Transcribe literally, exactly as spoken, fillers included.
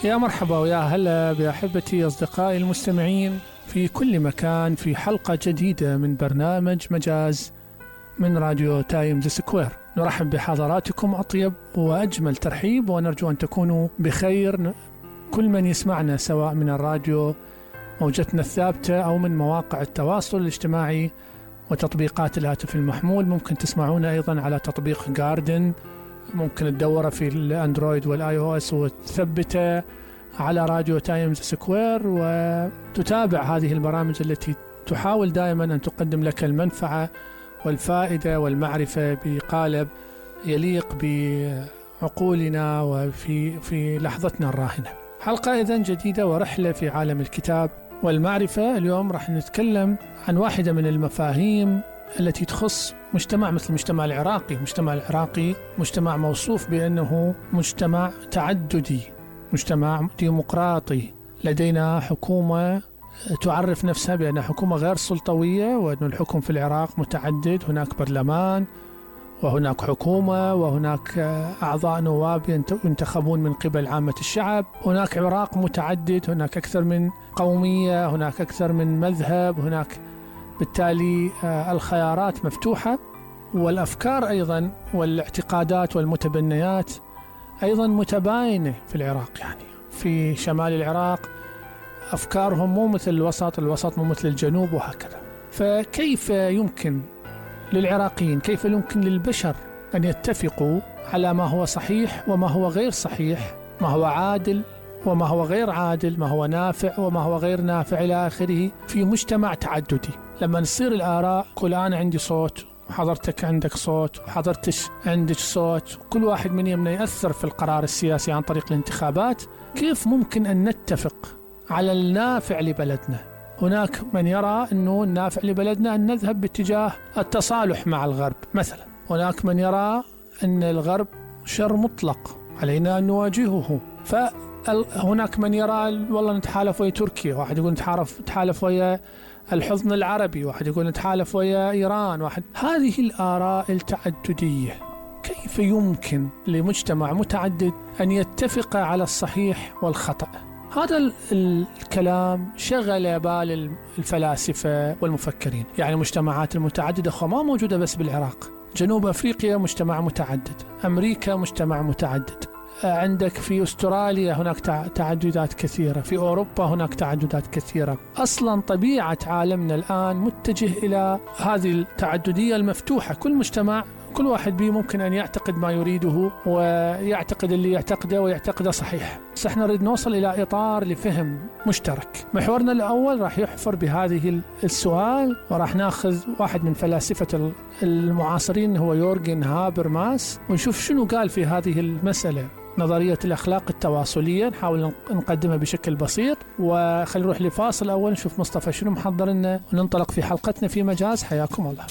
يا مرحبا ويا هلا بأحبتي أصدقائي المستمعين في كل مكان في حلقة جديدة من برنامج مجاز من راديو تايمز سكوير. نرحب بحضراتكم أطيب وأجمل ترحيب، ونرجو أن تكونوا بخير كل من يسمعنا سواء من الراديو موجتنا الثابتة أو من مواقع التواصل الاجتماعي وتطبيقات الهاتف المحمول. ممكن تسمعونا أيضا على تطبيق جاردن، ممكن تدوره في الأندرويد والآي أو إس وتثبته على راديو تايمز سكوير، وتتابع هذه البرامج التي تحاول دائما أن تقدم لك المنفعة والفائدة والمعرفة بقالب يليق بعقولنا وفي في لحظتنا الراهنة. حلقة إذن جديدة ورحلة في عالم الكتاب والمعرفة. اليوم راح نتكلم عن واحدة من المفاهيم التي تخص مجتمع مثل المجتمع العراقي. المجتمع العراقي مجتمع موصوف بأنه مجتمع تعددي، مجتمع ديمقراطي، لدينا حكومة تعرف نفسها بأنها حكومة غير سلطوية، وأن الحكم في العراق متعدد، هناك برلمان وهناك حكومة وهناك أعضاء نواب ينتخبون من قبل عامة الشعب، هناك عراق متعدد، هناك أكثر من قومية، هناك أكثر من مذهب، هناك بالتالي الخيارات مفتوحة، والأفكار أيضا والاعتقادات والمتبنيات أيضا متباينة في العراق. يعني في شمال العراق أفكارهم مو مثل الوسط، الوسط مو مثل الجنوب وهكذا. فكيف يمكن للعراقيين، كيف يمكن للبشر أن يتفقوا على ما هو صحيح وما هو غير صحيح، ما هو عادل وما هو غير عادل، ما هو نافع وما هو غير نافع إلى آخره في مجتمع تعددي؟ لما نصير الآراء كل أنا عندي صوت وحضرتك عندك صوت وحضرتش عندك صوت، كل واحد من يمنا يأثر في القرار السياسي عن طريق الانتخابات، كيف ممكن أن نتفق على النافع لبلدنا؟ هناك من يرى أنه النافع لبلدنا أن نذهب باتجاه التصالح مع الغرب مثلا، هناك من يرى أن الغرب شر مطلق علينا أن نواجهه، فهناك من يرى والله نتحالف ويا تركيا، واحد يقول نتحالف نتحالف ويا الحضن العربي، واحد يقول نتحالف ويا إيران، واحد. هذه الآراء التعددية كيف يمكن لمجتمع متعدد أن يتفق على الصحيح والخطأ؟ هذا الكلام شغل بال الفلاسفة والمفكرين. يعني المجتمعات المتعددة ما موجودة بس بالعراق، جنوب أفريقيا مجتمع متعدد، أمريكا مجتمع متعدد، عندك في أستراليا هناك تعددات كثيرة، في أوروبا هناك تعددات كثيرة. أصلا طبيعة عالمنا الآن متجه إلى هذه التعددية المفتوحة، كل مجتمع كل واحد به ممكن أن يعتقد ما يريده ويعتقد اللي يعتقده ويعتقده صحيح. بس احنا نريد نوصل إلى إطار لفهم مشترك. محورنا الأول راح يحفر بهذه السؤال، وراح ناخذ واحد من فلاسفة المعاصرين هو يورغن هابرماس، ونشوف شنو قال في هذه المسألة، نظرية الأخلاق التواصلية. نحاول نقدمها بشكل بسيط، وخلي نروح لفاصل أول نشوف مصطفى شنو محضر لنا، وننطلق في حلقتنا في مجاز. حياكم الله.